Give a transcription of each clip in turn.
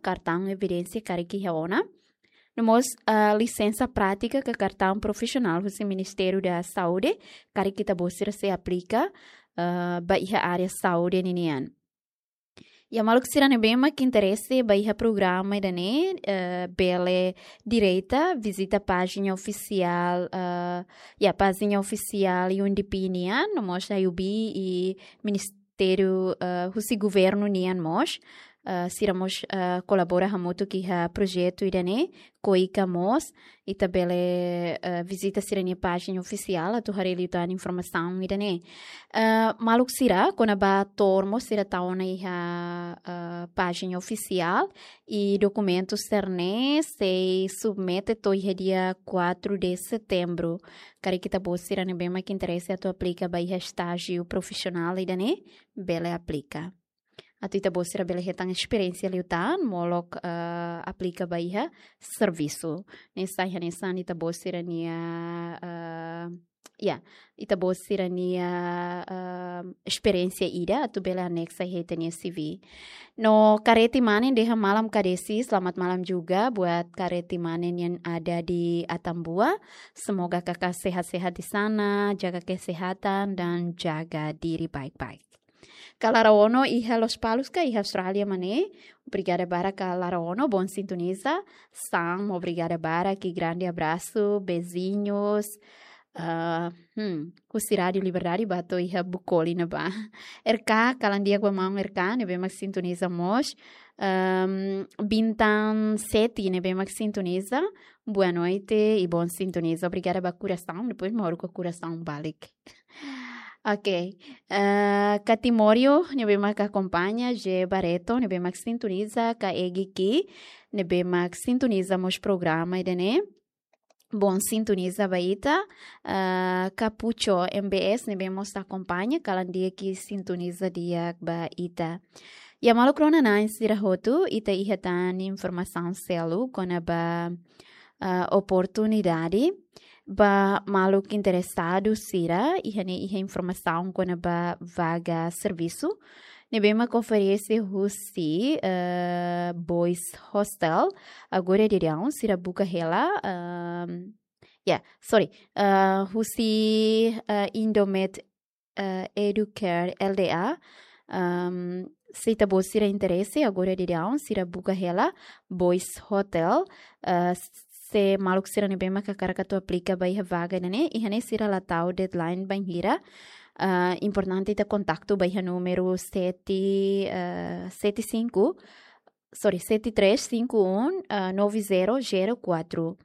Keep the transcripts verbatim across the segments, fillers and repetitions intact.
kartaun evidénsia karik iha ona. No mós, ah, lisensa prátika ka kartaun profisionál husi Ministériu da Saúde, karik ita-boot sira sei aplika, ah, ba iha área saúde ninian. Ya, maluk sira ne'ebé mak interese ba iha programa ida-ne'e, eh, bele direta vizita pájina ofisiál, eh, ya, pájina ofisiál U N D P nian, no mós A U B i ministériu, eh, husi governu nian mós, eh, sira mós, eh, kolabora hamutuk iha projetu ida-ne'e, KOICA mós, ita bele, eh, vizita sira-nia pájina ofisiál atu haree liután informasaun ida-ne'e. Eh, maluk sira, kona-ba to'o mós sira tau ona iha, eh, pájina ofisiál, i dokumentu sira-ne'e sei submete to'o iha dia quatro de setembro. Karik ita-boot sira ne'ebé mak interese atu aplika ba iha estájiu profisionál ida-ne'e, bele aplika. Atu ita-boot sira bele hetan esperiénsia liután, molok, eh, aplika ba iha servisu. Ne'e sai hanesan ita-boot sira-nia, eh, ya, ita-boot sira-nia, eh, esperiénsia ida, atu bele aneksa iha ita-nia C V. No Kareti Mane dehan malam Kak Desi, selamat malam juga buat Kareti Mane yang ada di Atambua. Semoga kakak sehat-sehat di sana, jaga kesehatan, dan jaga diri baik-baik. Kak Lara Ono iha Lospalos ka iha Austrália, Mane? Obrigada barak Kak Lara Ono, bom sintoniza. Sam, obrigada barak, grande abraço, beijinhos. Ah, hmm, husi Rádiu Liberdade ba to'o iha Bucoli ne'ebá. R K, kalan di'ak ba maun R K, ne'ebé mak sintoniza mós. Ehm, Bintang Seti, ne'ebé mak sintoniza. Boa noite i bom sintoniza. Obrigada ba korasaun, depois mak haruka korasaun balik. Ok. Eh, Kak Timório, ne'ebé mak akompaña, G Barreto, ne'ebé mak sintoniza, Kak Egi Ki, ne'ebé mak sintoniza mós programa ida-ne'e. Bom sintoniza ba ita, eh, Kak Pucho M B S, ne'ebé mós akompaña, kalan di'ak i sintoniza di'ak ba ita. Ya, maluk rona-na'in sira hotu, ita iha tan informasaun seluk kona-ba, ah, oportunidade ba maluk interesadu sira, iha ne'e iha informasaun kona-ba vaga servisu ne'ebé mak oferese husi, eh, Boys Hostel. Agora daudaun sira buka hela, ehm, ya, sorry, eh, husi, eh, Indomed, eh, Educare L D A. Ehm, se ita-boot sira interese, agora daudaun sira buka hela Boys Hostel. Eh, se maluk sira ne'ebé mak hakarak atu aplika ba iha vaga ne'e, iha ne'e sira la tau deadline bainhira. Eh, importante ita kontaktu ba iha númeru sete, eh, sete cinco, sorry, sete três cinco um, eh, nove zero zero quatro.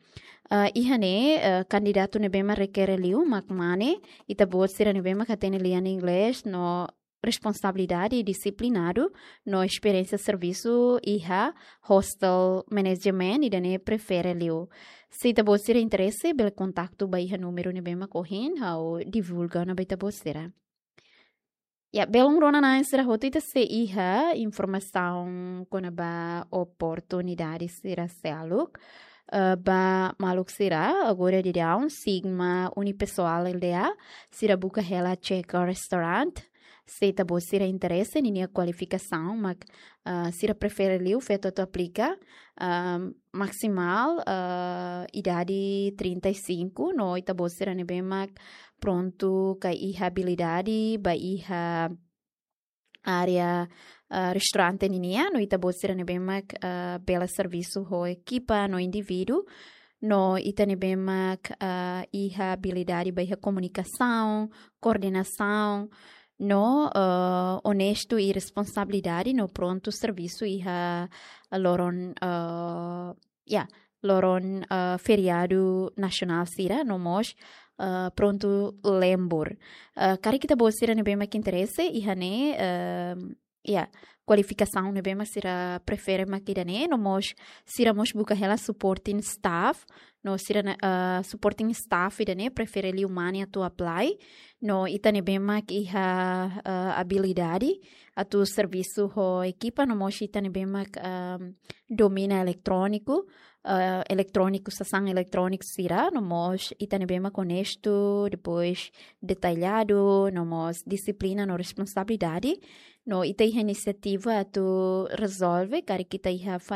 Eh, iha ne'e, eh, kandidatu ne'ebé mak rekere liu mak mane, ita-boot sira ne'ebé mak hatene lian inglés no responsabilidade i disiplinadu, no esperiénsia servisu iha hostel management, ida-ne'e prefere liu. Se ita-boot sira interese, bele kontaktu ba iha númeru ne'ebé mak ohin ha'u divulga ona ba ita-boot sira. Ya, belun rona-na'in sira hotu, ita sei iha informasaun kona-ba oportunidade sira seluk. Eh, ba maluk sira, agora daudaun, Sigma Unipessoal L D A, sira buka hela chef restaurant. Se ita-boot sira interese, ninia kualifikasaun mak, ah, sira prefere liu feto atu aplika, ah, maksimál, ah, idade trinta e cinco, no ita-boot sira ne'ebé mak prontu ka iha abilidade ba iha área, ah, restaurante ninian, no ita-boot sira ne'ebé mak, ah, bele servisu ho ekipa no indivíduu, no ita ne'ebé mak, ah, iha abilidade ba iha komunikasaun, koordenasaun, no, ah, onestu i responsabilidade, no prontu servisu iha loron, ah, ya, loron, ah, feriadu nasionál sira, no mós, ah, prontu lembur. Ah, karik ita-boot sira ne'ebé mak interese, iha ne'e, ah, ya, kualifikasaun ne'ebé mak sira prefere mak ida-ne'e, no mós sira mós buka hela supporting staff, no sira-nia, ah, supporting staff ida-ne'e prefere liu mane atu apply, no ita ne'ebé mak iha, ah, abilidade atu servisu ho ekipa, no mós ita ne'ebé mak, ah, domina eletróniku, ah, eletróniku, sasán eletróniku sira, no mós ita ne'ebé mak onestu, depois detalladu, no mós dixiplina no responsabilidade, no ita iha inisiativa atu rezolve, karik ita iha fa-